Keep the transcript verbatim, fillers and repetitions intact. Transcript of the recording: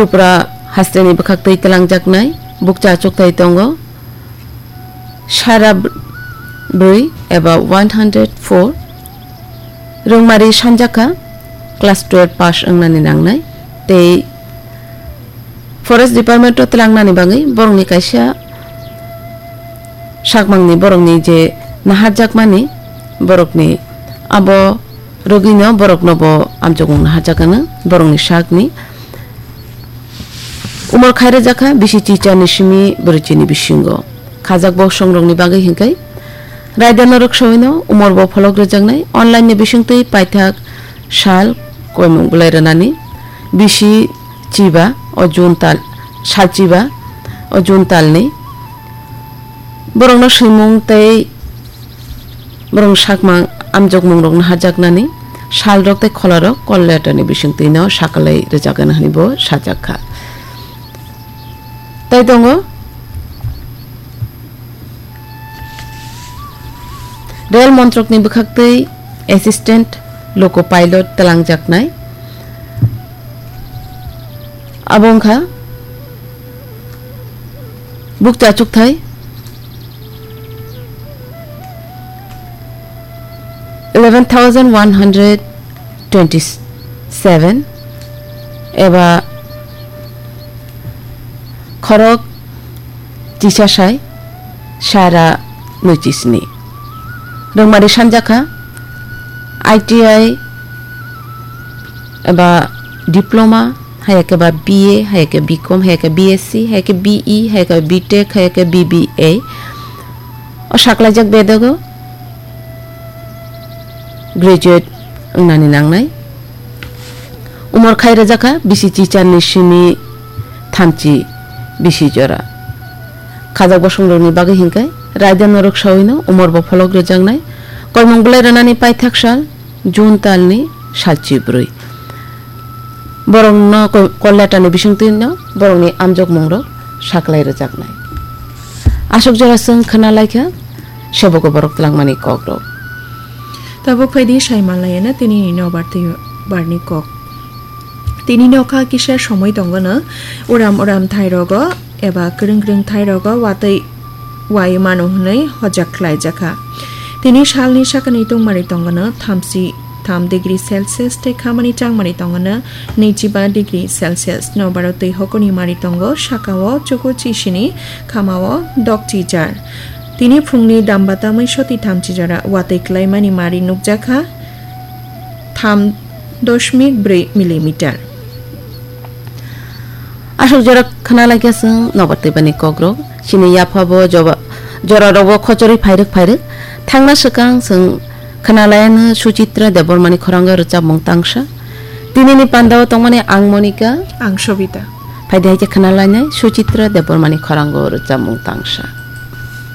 Tripura hasteni bwkhaktwi twlangjaknai bukcha achukthai tongo sara br-, brwi eba one hundred four. Rwngmari sanjakha class twelve pass wngnani nangnai tei Forest Department o twlangnani bagwi borokni kaisa sakmangni borokni je naharjakmani borokni abo rwgwino borokno bo amchukmung naharjakgano borokni sakni. Umor khai rwjakha bisi chicharni simi bwrwichini bisingo. Khajak bosongrokni bagwi hinkhai raida norok sawino umor bo pholok rwjaknai online ni bisingtwi paithak sal koimung bwlai rwnani bisi chiba o June tal, sal chiba o June talni. Borokno swimung tei borokni sakmang amjokmungrokno hajaknani salrok tei kholarok call letterni bisingtwino sakalai rwjagano hwnwi bo sajakha. Tai tongo Rail Montrokni bwkhaktwi Assistant Loco Pilot twlangjaknai. Abo wngkha bukcha chukthai eleven thousand one hundred twenty seven eba khorok tisasai sara nui chisni. Rwngmari sanjakha I T I eba diploma, hayake ba B A, hayake B Com, hayake B S C, hayake B E, hayake B Tech, hayake B B A. O saklaijak bedogo graduate wngnani nangnai. Umor khai rwjakha bisi chicharni simi thamchi bisi jora. Khajak bosongrokni bagwi hinkhai raida norok sawino umor bo pholok rwjaknai. Koimung bwlai rwnani paithak sal June talni salchi bwrwi. Borokno ko-, call letterni bisingtwino borokni amjokmungrok saklai rwjaknai. Aswk jora chwng khna laikha, sebogo borok twlangmani kokrok. Tabuk phaidi sai manlaiyana tinini nobar tei barni kok. Tini nokha kisa somoi tongono uram uram thairogo eba kwrwng kwrwng thairogo watwi wai mano hwnwi hojak khlaijakha. Tini salni sakani tungmari tongono thamchi tham degree Celsius tei khamani changmari tongono neichiba degree Celsius. Nobaro twi hokoni mari tongo, sakao chuku chisini, khamao dok chijar. Tini phungni damba tamwi soti thamchi jora watwi klaimani mari nukjakha tham doshmik brwi millimeter. Aswk jora khna laikha chwng nobar twibani kokrok. Chini yaphabo joba-, jorarokbo khochorwi phairwk phairwk. Thangna swkang chwng khna laiano Suchitra Debbarmani khorango rwchapmung tangsa. Tinini pandao tongmani ang Monika. Ang Sobita. Phaidi hai khe khna lainai Suchitra Debbarmani khorango rwchapmung tangsa.